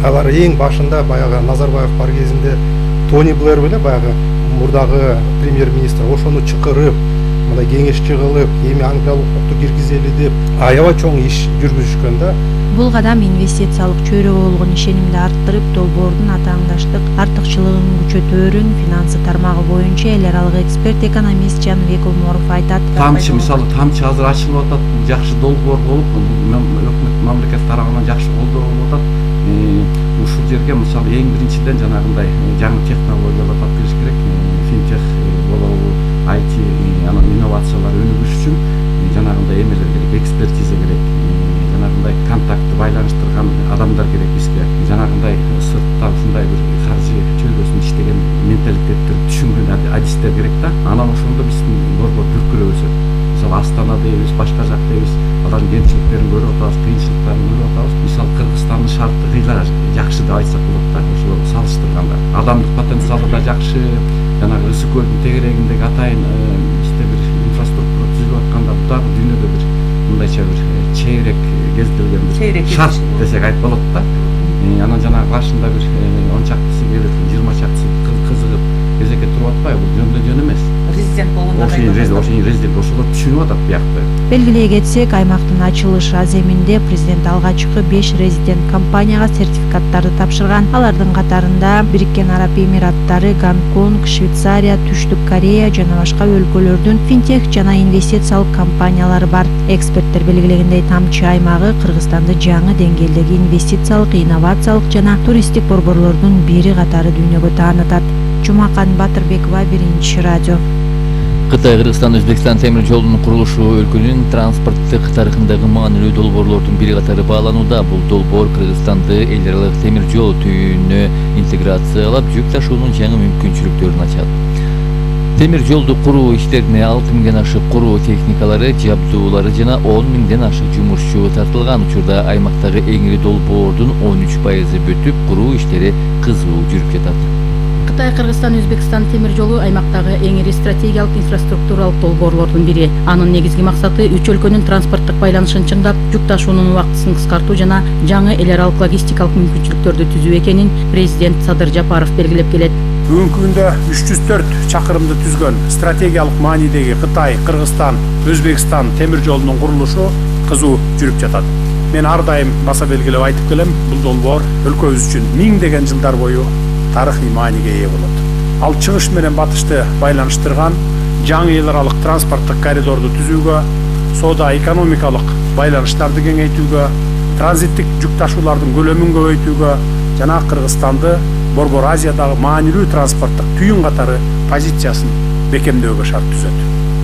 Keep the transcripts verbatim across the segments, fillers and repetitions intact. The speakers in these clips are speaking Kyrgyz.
Алар эң башында баягы Назарбаев бар кезинде Тони Блэр беле баягы мурдагы премьер-министр ошону чакырып, мындай кеңешчи кылып, эми англиялык укукту киргизели деп аябай чоң иш жүргүзүшкөн да. Бул кадам инвестициялык чөйрөгө болгон ишенимди арттырып, долбоордун атаандаштык артыкчылыгын күчөтөөрүн финансы тармагы боюнча эл аралык эксперт экономист Жаныбек Оморов айтат. Тамчы мисалы тамчы азыр ачылып атат, жакшы долбоор болуп, өкмөт мамлекет тарабынан жакшы колдоо болуп атат. Ушул жерге мисалы эң биринчиден жанагындай жаңы технологиялар таптырыш керек, финтех болобу, ай ти, анан инновациялар өнүгүш үчүн жанагындай эмелер керек, экспертиза керек, жанагындай контактты байланыштырган адамдар керек бизге. Жанагындай сырттан ушундай бир каржы чөлдөөсүн иштеген менталитетти түшүнгөн адистер керек да. Анан ошондо биздин борбор дүркүрөбүз. Мисалы Астана дейбиз, башка жак дейбиз. Алардын кемчиликтерин көрүп атабыз, кыйынчылыктарын көрүп атабыз. Мисалы Кыргызстандын шарты кыйла жакшы деп айтсак болот да, ошол салыштырганда. Адамдык потенциалы да жакшы. Жанагы Ысык көлдүн тегерегиндеги атайын бизде бир инфраструктура түзүлүп атканда, бул дагы дүйнөдө бир мындайча бир чейрек кездилген бир шарт десек айтып болот да. Анан жанагы башында бир он чактысы келип, жыйырма чактысы кызыгып кезекке туруп атпайбы? Бул жөндөн жөн эмес. Президент болгондо ошол резидент ошолор түшүнүп атат биякты. Белгилей кетсек, аймактын ачылыш аземинде президент алгачкы беш резидент компанияга сертификаттарды тапшырган. Алардын катарында Бириккен Араб Эмираттары, Гонконг, Швейцария, Түштүк Корея жана башка өлкөлөрдүн финтех жана инвестициялык компаниялары бар. Эксперттер белгилегендей, тамчы аймагы Кыргызстанды жаңы деңгээлдеги инвестициялык, инновациялык жана туристтик борборлордун бири катары дүйнөгө таанытат. Жумакан Батырбекова, Биринчи радио. Кытай Кыргызстан Өзбекстан темир жолунун курулушу өлкөнүн транспорттук тарыхындагы маанилүү долбоорлордун бири катары бааланууда. Бул долбоор Кыргызстанды эл аралык темир жол түйүнүнө интеграциялап, жүк ташуунун жаңы мүмкүнчүлүктөрүн ачат. Темир жолду куруу иштерине алты миңден ашык куруу техникалары, жабдуулары жана он миңден ашык жумушчу тартылган. Учурда аймактагы эң ири долбоордун он үч пайызы бүтүп, куруу иштери кызуу жүрүп жатат. Кытай Кыргызстан Өзбекстан темир жолу аймактагы эң ири стратегиялык инфраструктуралык долбоорлордун бири. Анын негизги максаты үч өлкөнүн транспорттук байланышын чыңдап, жүк ташуунун убактысын кыскартуу жана жаңы эл аралык логистикалык мүмкүнчүлүктөрдү түзүү экенин президент Садыр Жапаров белгилеп келет. Бүгүнкү күндө үч жүз төрт чакырымды түзгөн стратегиялык маанидеги Кытай, Кыргызстан, Өзбекстан темир жолунун курулушу кызуу жүрүп жатат. Мен ар дайым баса белгилеп айтып келем, бул долбоор өлкөбүз үчүн миңдеген жылдар бою тарыхый мааниге ээ болот. Ал чыгыш менен батышты байланыштырган жаңы эл аралык транспорттук коридорду түзүүгө, соода экономикалык байланыштарды кеңейтүүгө, транзиттик жүк ташуулардын көлөмүн көбөйтүүгө жана Кыргызстанды Борбор Азиядагы маанилүү транспорттук түйүн катары позициясын бекемдөөгө шарт түзөт.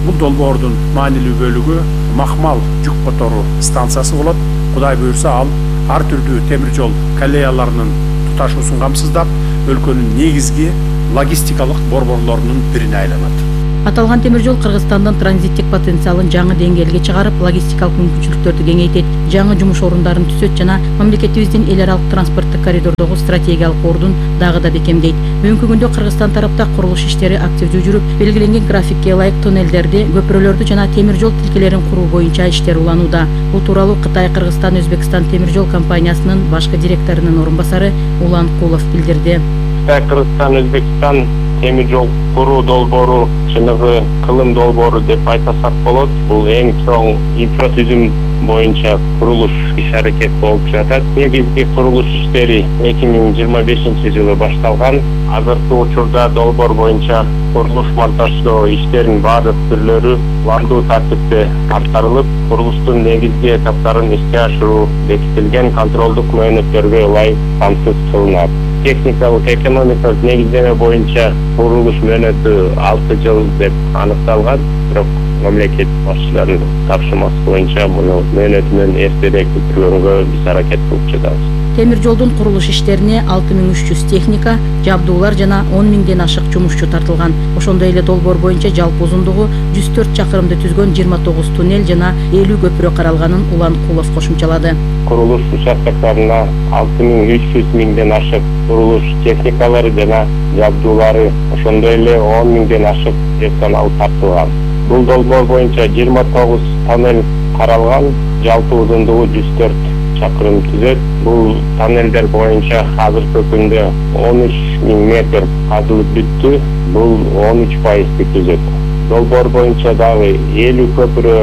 Бул долбоордун маанилүү бөлүгү Махмал жүк которуу станциясы болот. Кудай буйрса, ал ар түрдүү темир жол коллеяларынын туташуусун камсыздап, өлкөнүн негизги логистикалык борборлорунун бирине айланат. Аталган темир жол Кыргызстандын транзиттик потенциалын жаңы деңгээлге чыгарып, логистикалык мүмкүнчүлүктөрдү кеңейтет, жаңы жумуш орундарын түзөт жана мамлекетибиздин эл аралык транспорттук коридордогу стратегиялык ордун дагы да бекемдейт. Бүгүнкү күндө Кыргызстан тарапта курулуш иштери активдүү жүрүп, белгиленген графикке ылайык туннелдерди, көпүрөлөрдү жана темир жол тилкелерин куруу боюнча иштер уланууда. Бул тууралуу Кытай Кыргызстан Өзбекстан темир жол компаниясынын башкы директорунун орун басары Улан Кулов билдирди. Кытай Кыргызстан Өзбекстан темир жол куруу долбоору чыныгы кылым долбоору деп айтсак болот. Бул эң чоң инфратүзүм боюнча курулуш иш-аракет болуп жатат. Негизги курулуш иштери эки миң жыйырма бешинчи жылы башталган. Азыркы учурда долбоор боюнча курулуш монтаждоо иштеринин баардык түрлөрү пландуу тартипте аткарылып, курулуштун негизги этаптарын ишке ашыруу бекитилген контролдук мөөнөттөргө ылайык камсыз кылынат. Техникалык экономикалык негиздеме боюнча курулуш мөөнөтү алты жыл деп аныкталган, бирок мамлекет башчыларынын тапшырмасы боюнча муну мөөнөтү менен эртерээк бүтүргөнгө биз аракет кылып жатабыз. Темир жолдун курулуш иштерине алты миң үч жүз техника, жабдуулар жана он миңден ашык жумушчу тартылган. Ошондой эле долбоор боюнча жалпы узундугу жүз төрт чакырымды түзгөн жыйырма тогуз туннель жана элүү көпүрө каралганын Улан Кулов кошумчалады. Курулуш участоктарына алты миң үч жүз миңден ашык курулуш техникалары жана жабдуулары, ошондой эле он миңден ашык персонал тартылган. Бул долбоор боюнча жыйырма тогуз тоннель каралган, жалпы узундугу жүз төрт чакырым түзөт. Бул тоннелдер боюнча азыркы күндө он үч миң метр казылып бүттү. Бул он үч пайызды түзөт. Долбоор боюнча дагы элүү көпүрө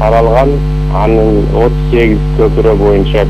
каралган. Анын отуз сегиз көпүрө боюнча